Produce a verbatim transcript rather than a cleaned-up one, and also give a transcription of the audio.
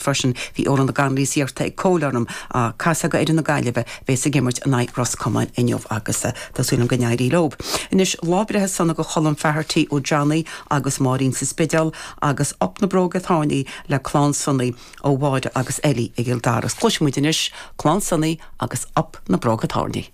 Freisin bhí Órán na Ganlís iarrta ag Cóil orm a casadh ar na Gaillimhe bheas ag imirt in aghaidh Ros Comáin inniu agus tá súil go n-éireoidh leo. Anois lá breithe sona go Cholm Faherty ó Johnny agus Máirín sa Spidéal agus Up na Bróga Tairní le clann Sonaí ó Mháire agus Ellie i gCill Dara. Cloisfimid anois clann Sonaí agus Up na Bróga Tairní.